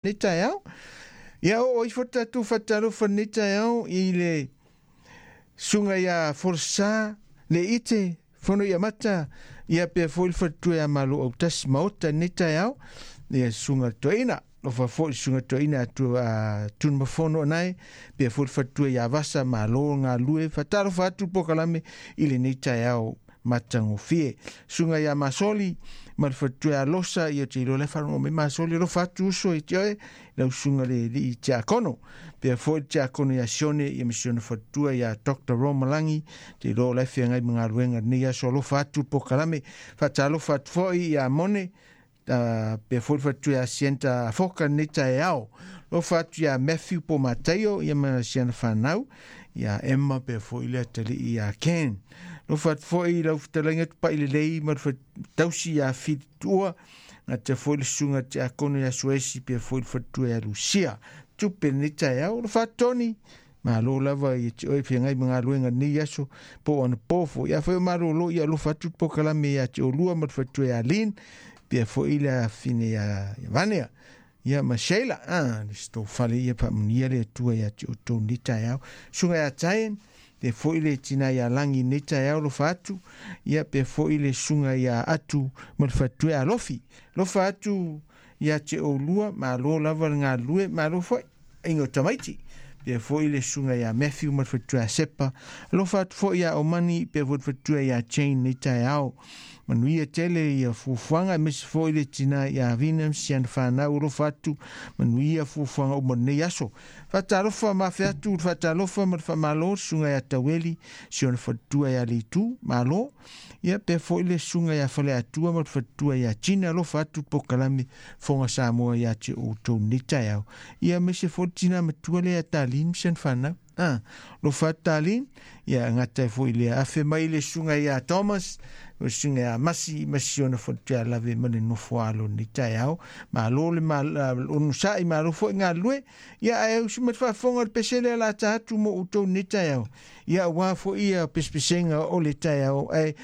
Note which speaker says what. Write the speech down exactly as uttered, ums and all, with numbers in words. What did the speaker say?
Speaker 1: Nei taeao. Ia oo ifo tatou faatalofa lenei taeao i le susuga ia Folasa le ite fono ia mata ia pea foi le faletua ia Malo Autasi Maota lenei taeao ia susuga toeaina lofa foi le susuga toeaina atu a Tunumafono anae pea foi le faletua ia Vasa malo galue faatalofa atu le polokalame i lenei taeao matagofie. Susuga ia Masoli ma le faletua ia Losa ia te iloa la e faalogo mai Masoli alofa atu uso i te oe lau susuga le alii tiakono pea foi le tiakono ia Sione ia ma si ona faletua ia Doctor Romalangi te iloa o la e feagai ma galuega lenei aso alofa atu le polokalame faatalofa atu foi ia Mone uh, pea foi le faletua ia Sienta Afoka lenei taeao alofa atu ia Matthew po Mataio ia ma siana fanau ia Emma pea foi le atalii ia Ken alofa atu foi lau fetalaiga Tupai Lelei ma le tausi ia Filitua gata foi le susuga tiakono ia Suesi pea foi le faletua ia Lucia tupe lenei taeao alofa atu Tony malo lava ia te oe feagai ma galuega lenei aso po o anapo foi afai o malolo ia alofa atu le polokalame ia te olua ma le faletua ia Lin pea foi le afine ia Vanea ia ma Sheila ah le stofale ia faamanuia le Atua ia te outou lenei taeao susuga ia Taen pe foi le tina ia Lagi lenei taeao alofa atu ia pe foi le susuga ia Atu ma le faletua ia Alofi alofa atu ia te oulua malo lava le galulue malo foi aiga o tamaiti pe foi le susuga ia Matthew ma le faletua ia Sepa alofa atu foi ia Omani pe foi le faletua ia Jane lenei taeao manuia tele ia fuafuaga aemaise foi le tina ia Vina ma si ana fanau alofa atu manuia fuafuaga uma lenei aso faatalofa ma afe atu le faatalofa ma le faamalo le susuga ia Taueli si ona faletua ia Leitu malo ia pe foi le susuga ia Faleatua ma le faletua ia Tina alofa atu le polokalame Fofoga Samoa ia te outou lenei taeao ia aemaise foi le tina matua lea ia Talin ma si ana fanau ah alofa atu Talin ia gata ai foi lea afe mai le susuga ia Thomas o le susuga ia Masi ma si ona faletua ia Lave ma le nofo alo lenei taeao malo le onosai malo foi galulue ia ae usu mai le faafofoga o le pese lea o le a ta atu mo outou lenei taeao ia aua foi ia pesepesega o le taeao ae